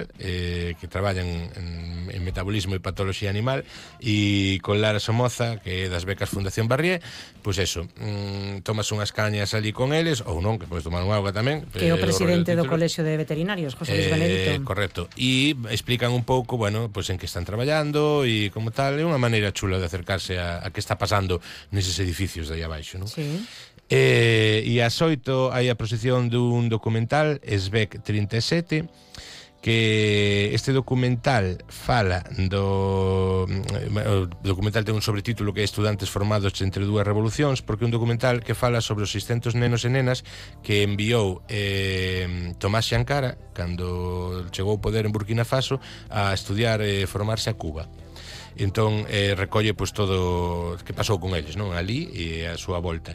Animal, que traballan en metabolismo e patoloxía animal, e con Lara Somoza, que é das becas Fundación Barrié, pois eso, tomas unhas cañas ali con eles, ou non, que podes tomar un auga tamén, que é o presidente do Colexio de Veterinarios, José Luis Benedito. Correcto, e explican un pouco, bueno, pois en que están traballando e como tal, é unha maneira chula de acercarse a que está pasando neses edificios de aí abaixo, non? Sí. E ás 8 hai a proxección dun documental, SBEC 37, que este documental fala o documental ten un sobretítulo que é Estudantes formados entre dúas revolucións, porque é un documental que fala sobre os 600 nenos e nenas que enviou Tomás Sankara cando chegou ao poder en Burkina Faso a estudiar e formarse a Cuba. Entón recolle pois todo que pasou con eles, non, ali e a súa volta.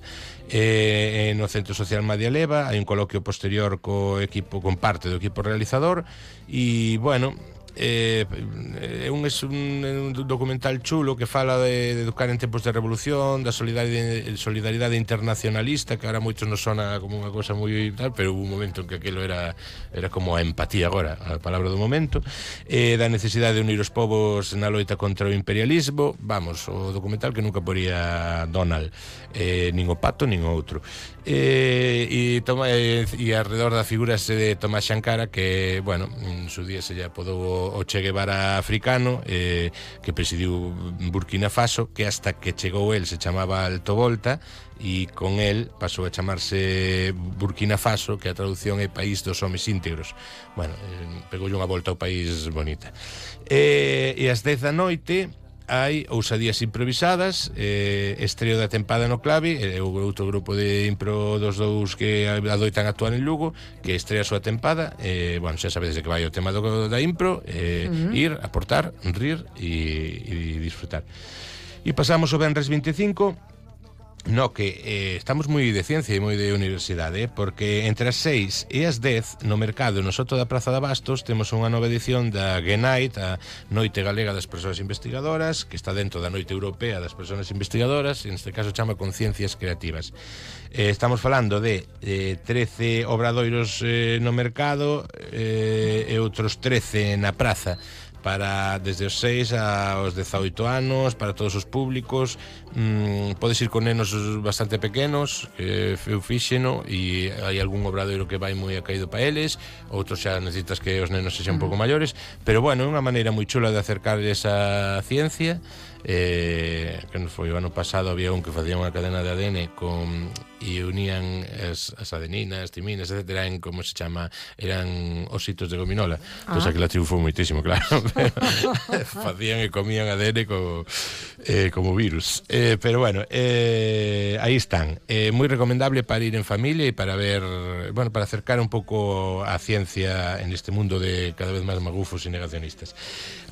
No Centro Social Madia Leva hai un coloquio posterior co equipo, con parte do equipo realizador, e bueno, é un documental chulo que fala de educar en tempos de revolución, da solidaridade internacionalista, que ahora moitos nos sona como unha cosa moi tal, pero hubo un momento en que aquilo era como a empatía agora, a palabra do momento, da necesidade de unir os povos na loita contra o imperialismo. Vamos, o documental que nunca poría Donald, nin o pato nin o outro, e alrededor da figura de Tomás Sankara, que, bueno, en su día se lle apodou o Che Guevara africano, que presidiu Burkina Faso, que hasta que chegou el se chamaba Alto Volta, e con el pasou a chamarse Burkina Faso, que a traducción é País dos Homes Íntegros. Bueno, pegoulle unha volta ao país bonita. E ás 10 da noite hai Ousadías Improvisadas, estreo da tempada no Clavi, o outro grupo de impro dos dous que adoitan actuar en Lugo, que estrea a súa tempada. Bueno, xa sabedes de que vai o tema da impro, ir, aportar, rir e disfrutar. E pasamos o venres 25, no que estamos moi de ciencia e moi de universidade, porque entre as 6 e as 10 no mercado no Soto da Praza de Abastos temos unha nova edición da GENITE, a Noite Galega das Persoas Investigadoras, que está dentro da Noite Europea das Persoas Investigadoras, e neste caso chama Conciencias Creativas. Estamos falando de 13 obradoiros no mercado e outros 13 na praza, para desde os 6 aos 18 anos, para todos os públicos. Podes ir con nenos bastante pequenos, eu fíxeno, e hai algún obradoiro que vai moi acaído para eles, outros xa necesitas que os nenos sexan un pouco maiores, pero bueno, é unha maneira moi chula de acercarles a ciencia. Que nos foi o ano pasado, había un que facía unha cadena de ADN e unían as adeninas, timinas, etcétera, en como se chama, eran ositos de gominola. Pois aquela triunfou moitísimo, claro. Facían e comían ADN como virus. Pero bueno, aí están. Moi recomendable para ir en familia e para ver, bueno, para acercar un pouco a ciencia en este mundo de cada vez máis magufos e negacionistas.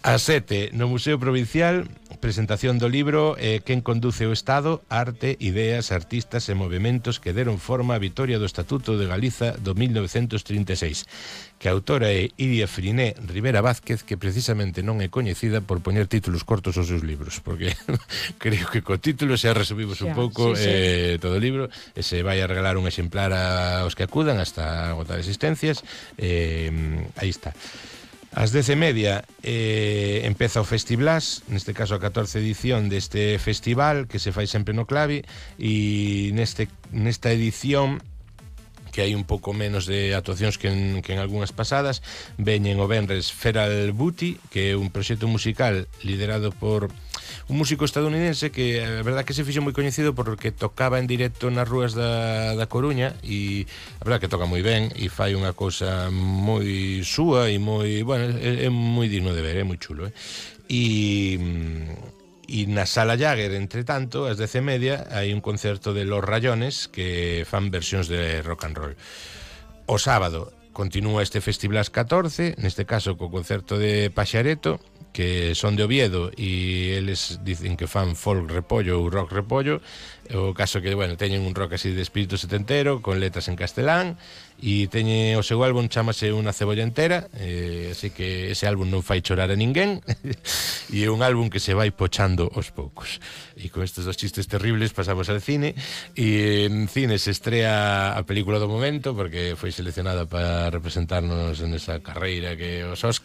A 7, no Museo Provincial, presentación do libro Quen conduce o Estado, arte, ideas, artistas e movementos que deron forma á vitoria do Estatuto de Galiza do 1936, que a autora é Iria Friné Rivera Vázquez, que precisamente non é coñecida por poñer títulos cortos aos seus libros, porque creo que co título xa resumimos un pouco todo o libro, e se vai a regalar un exemplar aos que acudan hasta agotar existencias. Aí está. Ás 10:30 empeza o Festiblas, neste caso a 14 edición deste festival que se fai sempre no Clavi, e nesta edición, que hai un pouco menos de actuacións que en algunhas pasadas, veñen o venres Feral Booty, que é un proxecto musical liderado por un músico estadounidense que a verdad que se fixo moi coñecido porque tocaba en directo nas rúas da Coruña, e a verdad que toca moi ben e fai unha cousa moi súa e moi, bueno, é moi digno de ver, é moi chulo, e na Sala Jagger, entre tanto, ás 10:30 hai un concerto de Los Rayones que fan versións de rock and roll. O sábado continúa este Festiblas 14, neste caso co concerto de Paxareto, que son de Oviedo, e eles dicen que fan folk repollo ou rock repollo. O caso que, bueno, teñen un rock así de espírito setentero, con letras en castelán, e teñen o seu álbum, chamase Unha cebolla entera, así que ese álbum non fai chorar a ninguén, e é un álbum que se vai pochando aos poucos. E con estes dos chistes terribles pasamos al cine, e en cine se estrea a película do momento, porque foi seleccionada para representarnos en esa carreira que os Óscar.